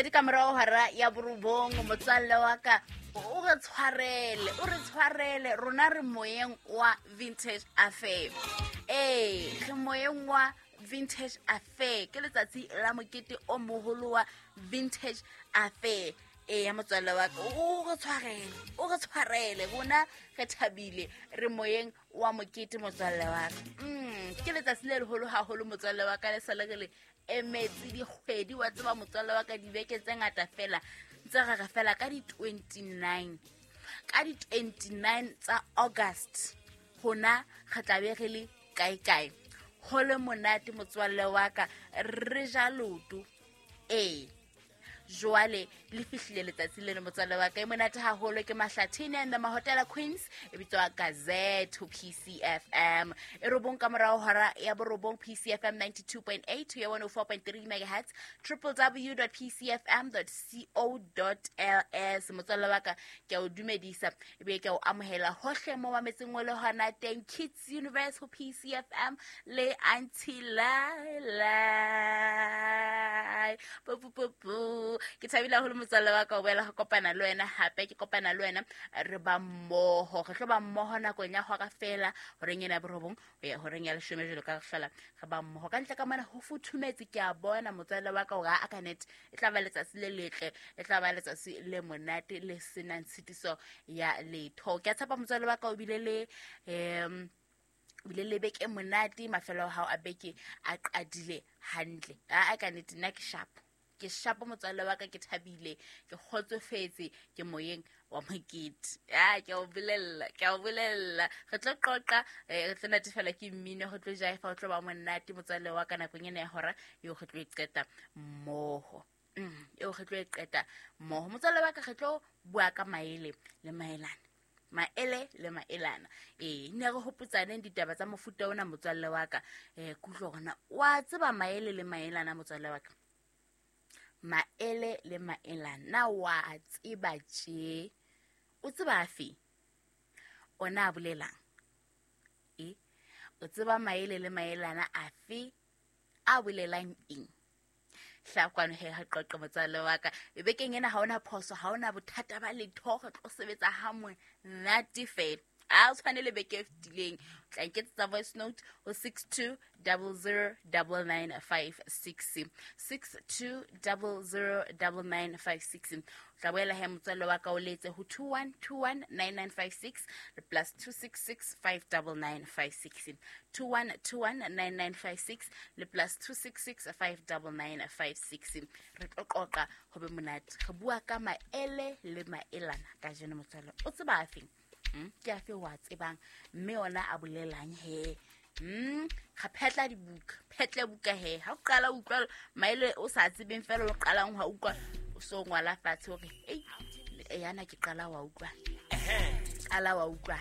Pedi ka morago hora ya borobong. Motswalle wa ka, o re tshwarele, o re tshwarele, rona re moyeng wa Vintage Affair. Ee, re moyeng wa Vintage Affair, ke letsatsi la mokete o moholo wa Vintage Affair. Ee ya motswalle wa ka, o re tshwarele, o re tshwarele, rona re thabile, re moyeng wa mokete, motswalle wa ka. Ke letsatsi le leholo haholo, motswalle wa ka, le sa le re le emetse dikgwedi, wa tseba, motswalle wa ka, dibeke tse ngata fela ntse re re fela ka di-29, ka di-29 tsa August hona re tla be re le kae-kae, go le monate, motswalle wa ka, re ja loto. Ee, jwale le fihlile letsatsi leno, motswalle wa ka, e monate haholo. Ke Mahlathini and the Mahotela Queens, e bitswa Gazette ho PCFM, e 9 ka morao hora ya 9, PCFM 92.8 to ya 104.3 megahertz, www.pcfm.co.ls. Motswalle wa ka, ke a o dumedisa ebe ke a o amohela hohle mo mametseng o le hona teng. Kids Universe ho PCFM le Auntie Laila. Pu. Ke thabile haholo, motswalle wa ka, o boela go kopana le wena hape. Ke kopana le wena, re ba mmoho, re tlo ba mmoho nakong ya hora fela, horeng ena ya 9 ho ya horeng ya 10, jalo ka re hlola re ba mmoho. Ka ntle ka mona ho futhumetse, ke a bona, motswalle wa ka, hore a ka net e tla ba letsatsi le letle, e tla ba letsatsi le monate le senang tshitiso ya letho. Ke a tshepa, motswalle wa ka, o bile le bile le beke monate, mafelo a hao a beke a qadile hantle. A ka nnete nna ke sharp, ke sharp, motswalle wa ka, ke thabile, ke kgotsofetse, ke moyeng wa mokete. A ke a o bolella, ke a o bolella, re tlo qoqa, re tlo natefela ke mmino, re tlo jaifa, o tlo ba monate, motswalle wa ka, nakong ena ya hora eo re tlo e qeta mmoho. Eo re tlo e qeta mmoho, motswalle wa ka, re tlo bua ka maele le maelana, maele le maelana. Ee, ne re hopotsaneng ditaba tsa mofuta ona, motswalle wa ka. Kutlwa gona wa tseba maele le maelana, motswalle wa ka, maele le maelana na wa tseba tje? O tseba afe ona a bolelang? E o tseba maele le maelana afe a bolelang eng? Hla kwano he, ha qoqe, motswalle wa ka. Bekeng ena ha ona phoso, ha ona bothata ba letho, re tlo sebetsa ha monate fela, a o tshwane le beke e fetileng. O tla nketsetsa voice note ho 62009956, 62009956. O tla boela he, motswalle wa ka, o letse ho 21219956 le +266 59956, 21219956 le +266 59956. Re tlo qoqa ho be monate, re bua ka maele le maelana kajeno. Motswalle, o tseba afeng? Ke afe wa tsebang, mme ona a bolelang he? Ga phetla dibuka, phetle buka he. Ha o qala o utlwa maele o sa tsebeng fela, o qalang wa utlwa, o so ngwala fatshe hore ei, yana ke qala wa utlwa, qala wa utlwa.